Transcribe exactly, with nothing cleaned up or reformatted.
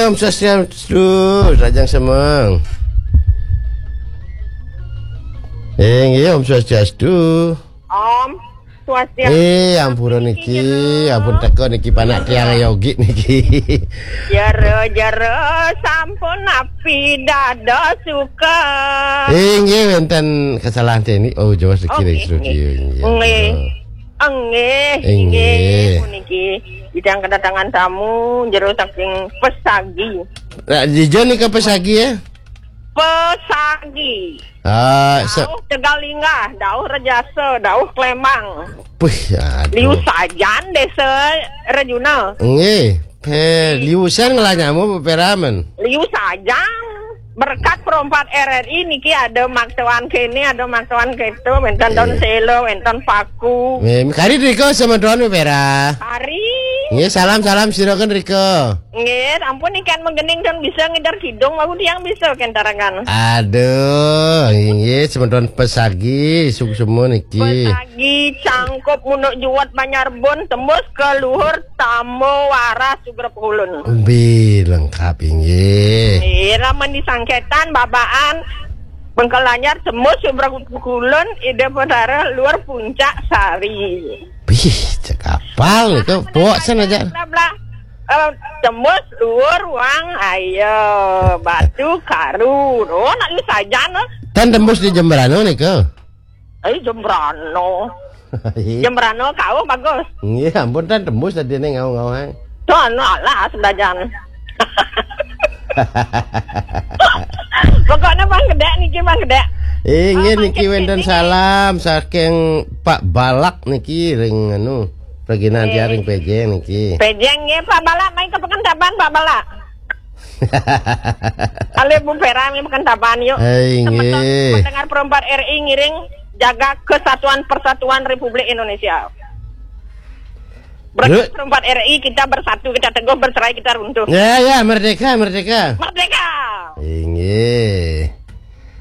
Om Swastiastu, Rajang Semeng. Eh, nggih, Om Swastiastu. Om Swastiastu. Eh, ampura niki, ampun teka niki panak tiang yogi niki. Jero, jero, sampun napi dados suka. Eh, nggih, wenten kesalahan teknik. Oh, jawab sedikit. Oke, dari studio, nggih. Nggih. Nggih, Inggih. Inggih, puniki. Kita kedatangan tamu jero saking Pesagi. Nah, di John nika Pesagi ya? Pesagi. Ah, se- Dauh Tegal Linggah, Dauh Rejasa, Dauh Klemang. Puh, aduh. Liu Sajan, Desa Rejuna. Nggih, pe liusan ngelah nyamu peperamen. Liu Sajan. Berkat perompat R R I niki ada maksoan kene, ada maksoan keto, wenten don selo, wenten paku. Nggih, kari rika semeton pepera. Kari. Nggih, salam-salam siraken rika. Nggih, ampun niki kan menggening don bisa ngider kidung, aku tiang bisa kentarakan. Aduh, nggih, semeton Pesagi, suksema niki. Pesagi, Cangkup, Munuk Juwet, Banyarbun, tembus ke luhur, Tambo, Waras, Sugrep Hulun. Bi lengkap, inggih. Nggih, lamun di Sangketan, Babaan, Bengkel Anyar, tembus Sugrep Hulun, Ida Petara, luar Puncak Sari. Bih, cek apal itu, pok sana aja. Bla, bla. Eh, tembus luar Wang, ayo, Batu Karu. Oh, nak lu saja no. Tan tembus di Jembrano nika. Eh, Jembrano. Iya. Jembrano kau bagus. Nggih, ampun tan tembus tadi ning ngau-ngau ae. Tuh, anu alah sedajan. Pokoknya Bang Gedek niki, Bang Gedek. Inggih, oh, niki wenten salam saking Pak Balak niki ring anu, Regina Antia ring Pejeng niki. Pejeng nggih, Pak Balak, main ke Pekanbaban, Pak Balak. Ale Bu Vera nggih, Pekanbaban yuk. Hai, nggih. Pendengar perempat R I ngiring jaga kesatuan persatuan Republik Indonesia. Ber- Perempat R I kita bersatu, kita teguh, bercerai kita runtuh. Ya, ya, merdeka, merdeka. Merdeka. Inggih.